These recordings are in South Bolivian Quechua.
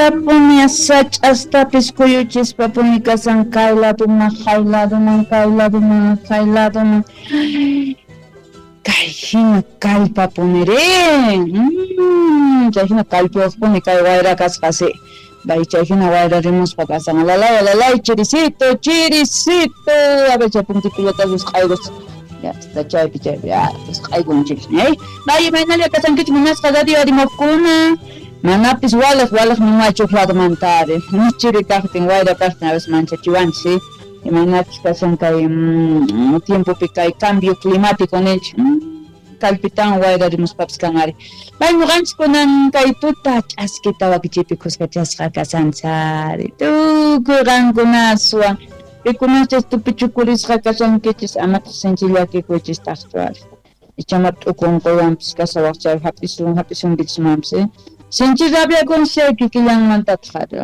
Sinchitapuni sach'astapis kuyuchispapuni kasan kay laduman, jay laduman, kay laduman, jay laduman. Kay hina kallpapuni rin. Chay hina kallpayuqpuni kay wayra kasqa si. Bay chay hina wayra rimuspa kasan. Alalay, alalay, chirisito, chirisito. A ver, chay puntipillata wisq'aykus. Ya está chaypi, chaypi, ya, wisq'aykunchik. Bay, imaynalla kasankichik munasqa radio arimuqkuna. Manapis walej, walej nimachu ladumantari. Chiri kaqtin, wayra kaqtin, a veces manchachiwanchis, ¿sí? Imaynachus kasan kay tiempopi kay cambio climático ninchik. Kallpitawan wayra rimuspapis kan ari. Bay ñuqanchik kunan kay tuta ch'askita wakichiypi khuskachasqa kasanchari. Tukuy qankunaswan pikunachus tupichukurisqa kashankichis amataq sinchi llakikuychistaqchu ari. Ichama t'uku unquywanpis kasawaq chay hap'isun hap'isunkichis ¿sí? Sinchi rabiakunchis chay kikillanmantataq ari.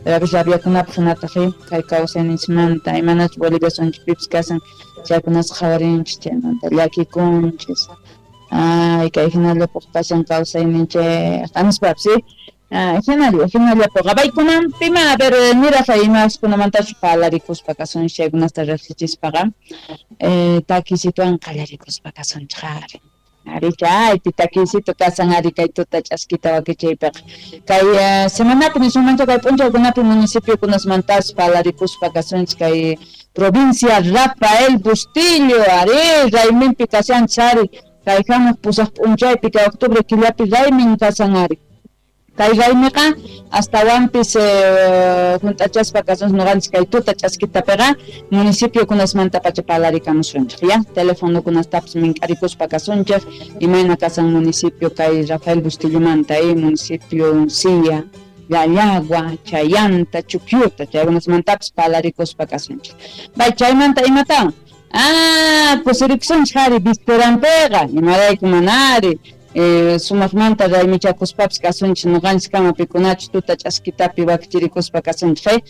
Pero rabiakunapaq hinataq kay kawsayninchikmanta imanachus Bolivia sunchikpipis kasan chaykunasqa qhawarinchis chaymanta llakikunchis. Ay, kay hinallapaq kasan kawsayninchik nispapis, ¿sí? Hinalla, hinallapuqa. Baykunanpima, a ver, niraq imaskunamantachu parlarikuspa kasunchik chaykunasta riqsichispaqa takisituwan qallarikuspa kasunchik ari. Ari chaypi takisito kasan ari kay tuta ch'askita wakichiypiqa. Kay semanapi nisunmancha kay p'unchaykunapi municipiokunasmantas parlarikuspa kasunchik kay provincia Rafael Bustillo ari rayminpi kashanchik ari kay hamuq pusaq p'unchaypi kay octubre killapi raymin kasan ari. Kay raymiqa astawanpis hunt'achaspa kasunchik ñuqanchik kay tuta ch'askitapiqa municipiokunasmantapacha parlarikamusunchik ya telefonokunastapis mink'arikuspa kasunchik imayna kasan municipio kay Rafael Bustillomanta municipio Uncía, Llallagua, Chayanta, Chukyuta chaykunasmantapis parlarikuspa kasunchik. Bay chaymanta imatawan? Ah, kusirikusunchik ari visperanpiqa imarayku mana ari. Sumaqmanta raymichakuspapis kasunchik ñuqanchik kama pikunachus tuta ch'askitapi wakichirikuspa kasunchik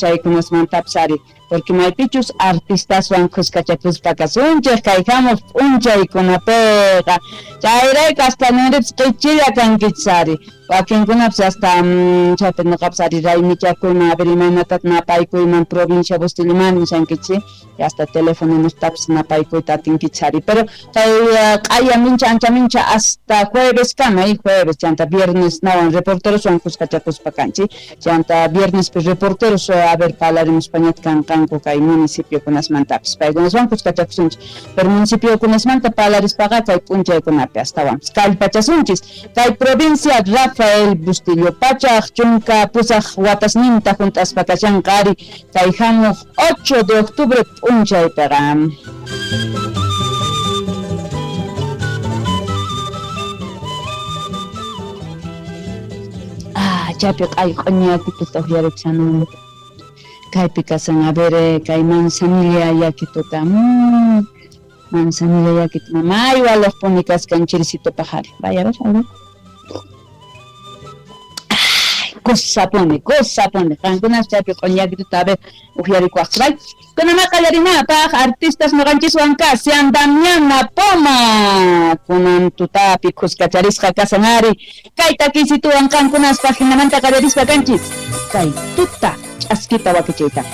chaykunasmantapis ari porque maypichus artistaswan khuskachakuspa kasunchik kay hamuq p'unchaykunapiqa chayrayku hasta ninripis qichilla kankichis ari wakinkunapis hasta chaypi ñuqapis ari raymichakuyman a ver imaynatataq napaykuyman provincia Bustilloman nishankichis hasta teléfono niqtapis napaykuyta atinkichis ari pero kay q'aya mincha ancha mincha hasta jueves kama jueves chanta viernes nawan reporteroswan khuskachakuspa kanchik chanta viernespi reporteros a ver parlarimuspañata kanqanku kay municipiokunasmantapis paykunaswan khuskachakusunchik pero municipiokunasmanta parlarispaqa kay p'unchaykunapi astawanpis kallpachasunchis kay provincia Rafael Bustillo pachaq chunka pusaq watasninta hunt'aspa kashanqa ari kay hamuq 8 de octubre p'unchaypiqa. Ah, chaypi q'ay q'uñiyakituta uqyarikushani. Kaypi kasan, a ver, kay manzanilla yakituta. Manzanilla yakitu mamay walaqpuni kaskan chirisitopaq ari. Vaya, a ver, a ver. Kusapuni, kusapuni. Qankunas chaypi q'uñiyakituta a ver uqyarikuwaqchik. Bay. Kunama qallarinapaq artistas ñuqanchiswan kashan Damiana Poma. Kunan tutapi khuskacharisqa kasan ari. Kay takisituwan qankunaspaq hinamanta qallarispa kanchis. Kay tuta ch'askita wakichiyta.